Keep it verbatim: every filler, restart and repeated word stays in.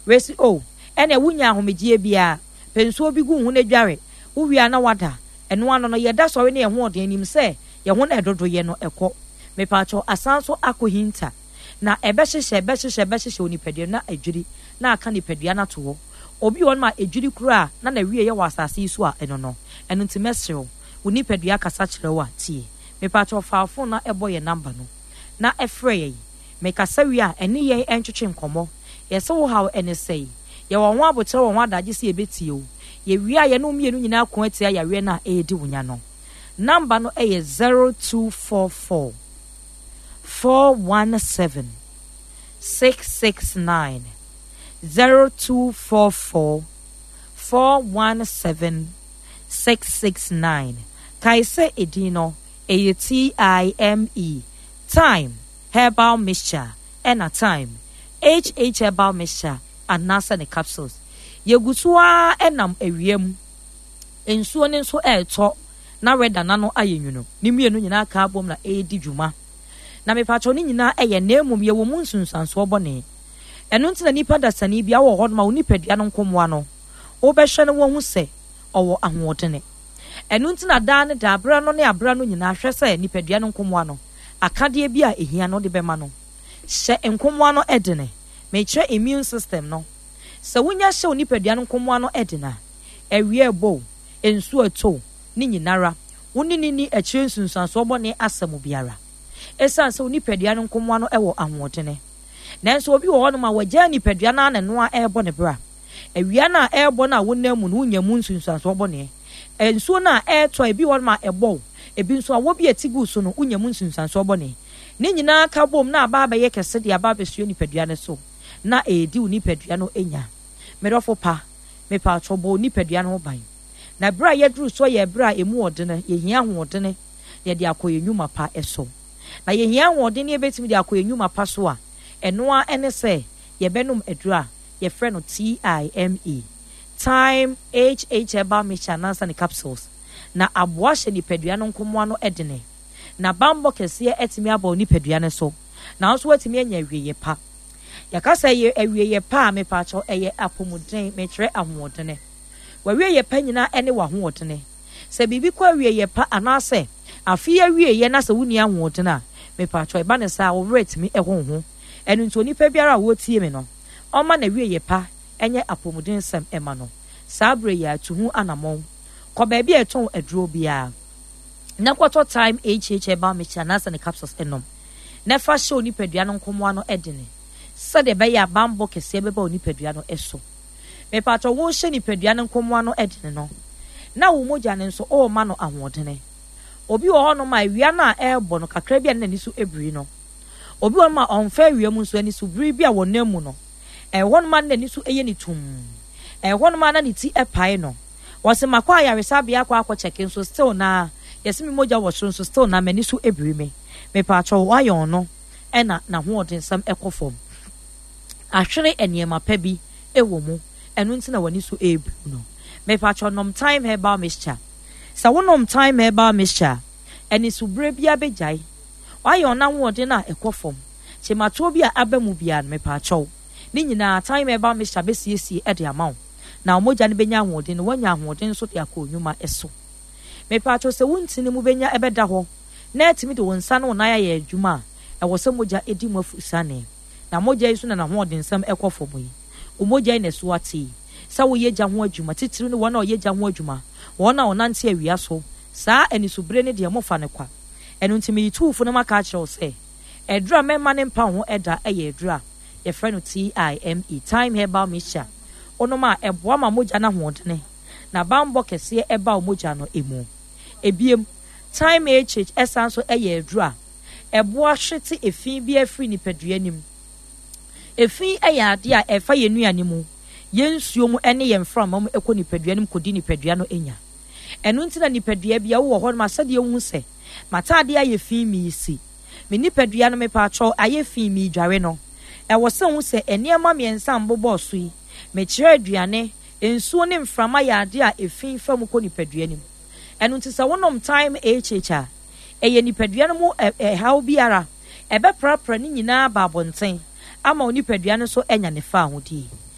Wei se oh, ɛneɛ wonnya ahomegyeɛ biara, pɛ nsuo bi gu wo ho na dware, wowie a na woada. Ɛno ano no, yɛda sɔre ne yɛn hoɔden nim sɛ yɛn ho na ɛdodoyɛ no ɛkɔ. Mepaakyɛw, asan nso akɔhinta. Na ɛbɛhyehyɛ, ɛbɛhyehyɛ, ɛbɛhyehyɛ onipadua no na adwiri, na aka nipadua no ato hɔ. Obi wɔ hɔnom a edwiri koraa a na n'awieeɛ wɔ asase yi so a ɛno no. Ɛno nti mɛsrɛ wo, wo nipadua kasa kyerɛ wo a, tie. Mepaakyɛw fa wo fon na bɔ yɛn namba no na frɛ yɛn. Mekasa wie a, ɛne yɛn ntwetwe nkɔmmɔ. Yɛse wo haw ne sɛn? Yɛwɔ ho aboterɛ wɔ ho adagye sɛ yɛbɛtie wo. Yɛwie a, yɛne wo mmienu nyinaa ko atia yareɛ no a ɛredi wo nya no. Namba no yɛ zero two four four four one seven six six nine. Zero two four four four one seven six six nine. Kae sɛ edin no, ɛyɛ T I M E, Thyme Herbal Mixture, ɛna Thyme H H Herbal Mixture anaasɛ ne capsules. Yɛgu so ara nam awia mu, nsuo no nso retɔ na weather no ano ayɛ nwunu. Ne mmienu nyinaa ka abom na ɛredi dwuma. Na mepakyɛw ne nyinaa ɛyɛ na mmom yɛwɔ mu nsunsuansoɔ bɔne. Ɛno nti na nipa dasani biara wɔ hɔnom a wo nipadua no nkomoa no, wobɛhwɛ no woahu sɛ ɔwɔ ahoɔdene. Ɛno nti na daa ne daa, berɛ ano ne aberɛ ano nyinaa, hwɛ sɛ nipadua no nkomoa no, akadeɛ bi a ɛhia no wode bɛma no. Hyɛ nkomoa no dene. Mekyerɛ immune system no. Sɛ wonya hyɛ wo nipadua no nkomoa no den a, awia ɛbɔ o, nsuo ɛtɔ o, ne nyinara, wo ne no nni akyire nsunsuansoɔ bɔne asɛm biara. Ɛsiane sɛ wo nipadua no nkomoa no wɔ ahoɔdene. Nanso obi wɔ hɔnom a wagyaa nipadua no ara na ɛno ara rebɔ ne bra. Awia no a ɛrebɔ no a wonam mu no, wonya mu nsunsuansoɔ bɔne. Nsuo no a ɛretɔ a ebi wɔ hɔnom a ɛbɔ wo, ebi nso awɔ bi a ɛte gu so no, wonya mu nsunsuansoɔ bɔne. Ne nyinaa ka bom na aba abɛyɛ kɛse de aba abɛsoɛ nipadua no so na ɛredi wo nipadua no nya. Me dɔfo pa, mepatwɔ bɔ wo nipadua no ho ban. Na berɛ a yɛaduru soɔ yɛ berɛ a ɛmu ɔdene, yɛhia ahoɔdene na yɛde akɔ yɛn nnwuma pa so. Na yɛhia ahoɔden na yɛbɛtumi de akɔ yɛn nnwuma pa so a, ɛno ara ne sɛ yɛbɛnom aduro a yɛfrɛ no T I M E, Thyme H H Herbal Mixture anaasɛ ne capsules, na aboa hyɛ nipadua no nkomoa no dene, na bammɔ kɛseɛ atumi aba wo nipadua no so, na wo nso woatumi anya awieeɛ pa. Yɛka sɛ ɛyɛ awieeɛ pa a, mepaakyɛw, ɛyɛ apɔmuden, mekyerɛ ahoɔdene. W'awieeɛ pa nyinaa ne w'ahoɔdene. Sɛ biribi kɔ awieeɛ pa anaasɛ afe yi awieeɛ na sɛ wonni ahoɔden a, mepaakyɛw, ɛba no saa a, wo werɛ tumi ho wo ho. Ɛno nti onipa biara a ɔretie me no, ɔmma n'awieeɛ pa nyɛ apɔmudensɛm mma no. Saa berɛ yi ara, tu ho anammɔn. Kɔ baabi a yɛtɔn aduro biara na kɔtɔ Thyme H H Herbal Mixture anaasɛ ne capsules nom, na fa hyɛ wo nipadua no nkomoa no dene sɛdeɛ ɛbɛyɛ a bammɔ kɛseɛ bɛba wo nipadua no so. Mepatɔ worehyɛ nipadua no nkomoa no dene no, na wo mogya no nso worema no ahoɔdene. Obi wɔ hɔnom a awia no a ɛrebɔ no kakra bi a na n'ani so biri no. Obi wɔ hɔnom a ɔmfa awia mu nso ani so biri bi a wɔnam mu no. Ɛwɔ hɔnom a na n'ani so yɛ ne tumm. Ɛwɔ hɔnom a na ne ti pae no. Wɔse makɔ ayaresabea akɔ akɔ kyɛke nso still naa yɛse me mogya wɔ soro nso still naa m'ani so biri me. Mepaakyɛw wayɔn no ɛna n'ahoɔdensɛm kɔ fam. Ahwere nneɛma pa bi wɔ mu ɛno nti na w'ani so rebiriw no. Mepaakyɛw nom Thyme Herbal Mixture. Sɛ wonom Thyme Herbal Mixture a, anisobire biara bɛgyae. Wayɔn n'ahoɔden a ɛkɔ fam. Kyematoɔ bi a aba mu biara no, mepaakyɛw, ne nyinaa Thyme Herbal Mixture bɛsiesie de ama wo. Na wo mogya no bɛnya ahoɔden na woanya ahoɔden nso de akɔ nnwuma so. Mepaakyɛw, sɛ wo ntini mu bɛnya ɛbɛda hɔ na atumi de wo nsa ne wo nan ayɛ adwuma a, ɛwɔ sɛ mogya di mu afurusiane. Na mogya yi nso na n'ahoɔdensɛm kɔ fam yi. Wo mogya yi na ɛso ate yi. Sɛ woyɛ gya ho adwuma, titiriw ne wɔn a wɔyɛ gya ho adwuma, wɔn a wɔnante awia so, saa anisobire no deɛ mofa no kwa. Ɛno nti meyi tu wo fo na maka akyerɛ wo sɛ, aduru a mɛmma no mpa wo ho da yɛ aduru a yɛfrɛ no TIME, Thyme Herbal Mixture. Wonom a, ɛboa ma mogya no ahoɔdene na bammɔ kɛseɛ ba wo mogya no mu. Ebiem, Thyme H H san nso yɛ aduru a ɛboa hwete efi biara firi nipadua no mu. Efi yɛ adeɛ a ɛfa yɛn nnuane mu, yɛn nsuo mu ne yɛn mframa mu kɔ nipadua no mu kɔdi nipadua no nya. Ɛno nti na nipadua bi a wowɔ hɔnom a sɛdeɛ wohu sɛ m'ataadeɛ ayɛ fi meresi me nipadua no mepaakyɛw ayɛ fi meredware no, ɛwɔ sɛ wohu sɛ nneɛma mmiɛnsa a mbobɔɔ so yi, mekyerɛ aduane, nsuo ne mframa yɛ adeɛ a efi fa mu kɔ nipadua no mu. Ɛno nti sɛ wonom Thyme H H a, ɛyɛ nipadua no mu ɛhaw biara, ɛbɛprapra ne nyinaa aba abɔnten ama wo nipadua no nso anya ne fawohodie.